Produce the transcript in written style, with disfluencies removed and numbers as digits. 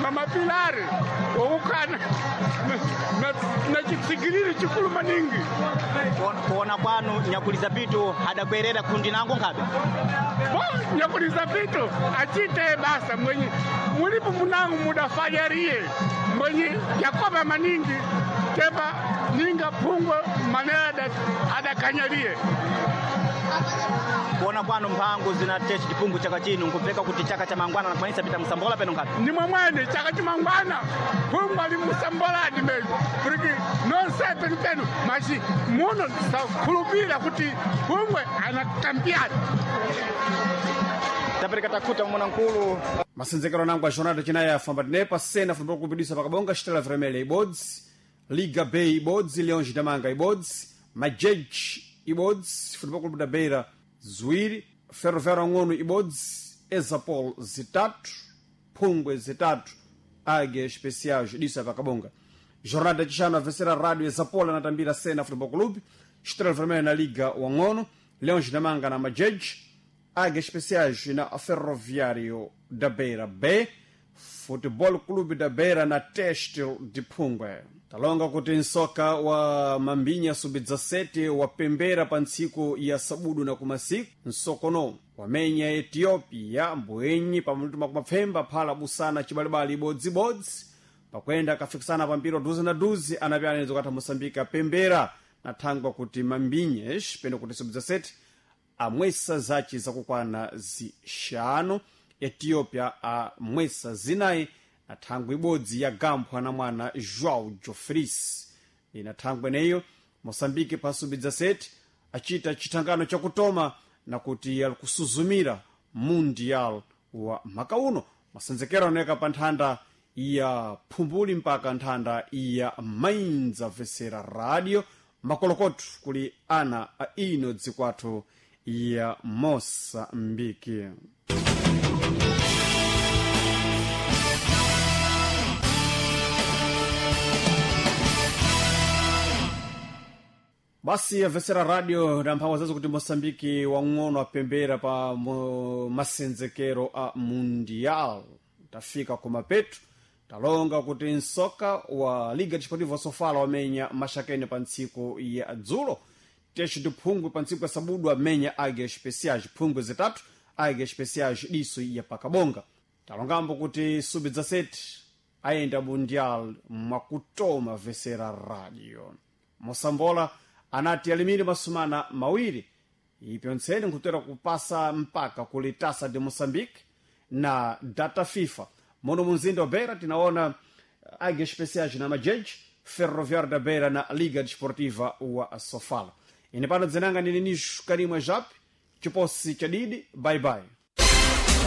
Mamapilari okukana na chitsigiriri chikulu maningi. Kuona kwanu nyakuliza pitu adakwerera kundi nango nkhabe. Bo nyakuliza pitu achite basa mwenye mulipo munango mudafanyarie mwenye yakoba maningi tepa ninga phungwe manera adakanyarie. Kuona kwanu mphango zinatesha chipungu chaka chino nkupfeka kuti chaka cha mangwana nakwanisa pita msambola peno nkhabe. Ni mwamwene chaka chimangwana phungwe ali musamboladi menyo kuti nonse penu penu machi muno sakhulupira kuti phungwe anakampiani. Tapereka takuta mwana nkulu. Masenzekero nangu a jornada chinayi afamba tinepa sena fumba kupidisa pakabonga Estrela Vermelha ibodzi, Liga B ibodzi, Leões da Manga ibodzi, Majeji ibodzi, Futebol Clube da Beira ziwiri, Ferroviário Ang'ono ibodzi, Exapol zitatu, Phungwe zitatu, Águia Especiais disa pakabonga. Jornada chixano a vencer a Rádio Exapol anatambira Sena Futebol Clube, Estrela Vermelha na Liga Wang'ono, Leões da Manga na Majeji, Águias Especiais na Ferroviário da Beira B, Futebol Clube da Beira na Têxtil de Phungwe. Talonga kuti nsoka wa Mambinya sub-17 wapembera pa ntsiku ya sabudu na kumasiku nsokono wamenya Ethiopia mbwenyi pamutu makumapfemba phala busana chibalibali ibodzibodzi pakwenda akafikisana pampiro duzi na duzi anapyananizo katha Moçambique apembera na thangwa kuti Mambinhas peno kuti sub-17 amwesa zaci zakukwana zixanu, Ethiopia amwesa zinayi na thangwi ibodzi ya gamphwa na mwana João Jofris. Ina thangwi eneyo Moçambique pa sub-17 acita chithangano chakutoma na kuti ali kusuzumira mundial wa maka uno. Masenzekero anaoneka pa nthanda ya Phumbuli mpaka nthanda ya Mainza vesera radio makolokoto kuli ana a ino dzikwathu ya Moçambique. Basi avesera radio na mphamvu zazo kuti Moçambique wang'ono apembera pa masenzekero a mundial. Tafika kumapeto talonga kuti nsoka wa Liga Desportiva Sofala wamenya Maxakene pa ntsiku ya dzulo, Teixo de Phungwe pa ntsiku ya sabudu amenya Águia Especiais Phungwe zitatu, Águia Especiais diso ya pakabonga. Talongambo kuti sub-17 ayenda mundial mwakutoma vesera radio. Mosambola anati alimire masumana mawiri ipyo ntsene nkutera kupasa mpaka kuli Taça de Moçambique na data FIFA. Mono munzinda wa Beira tinaona Águia Especiais na Majeji, Ferroviário da Beira na Liga Desportiva wa Sofala. Ine pano dzinanga ndine Nisho Karimwa Jape, chiposi chadidi, bye bye.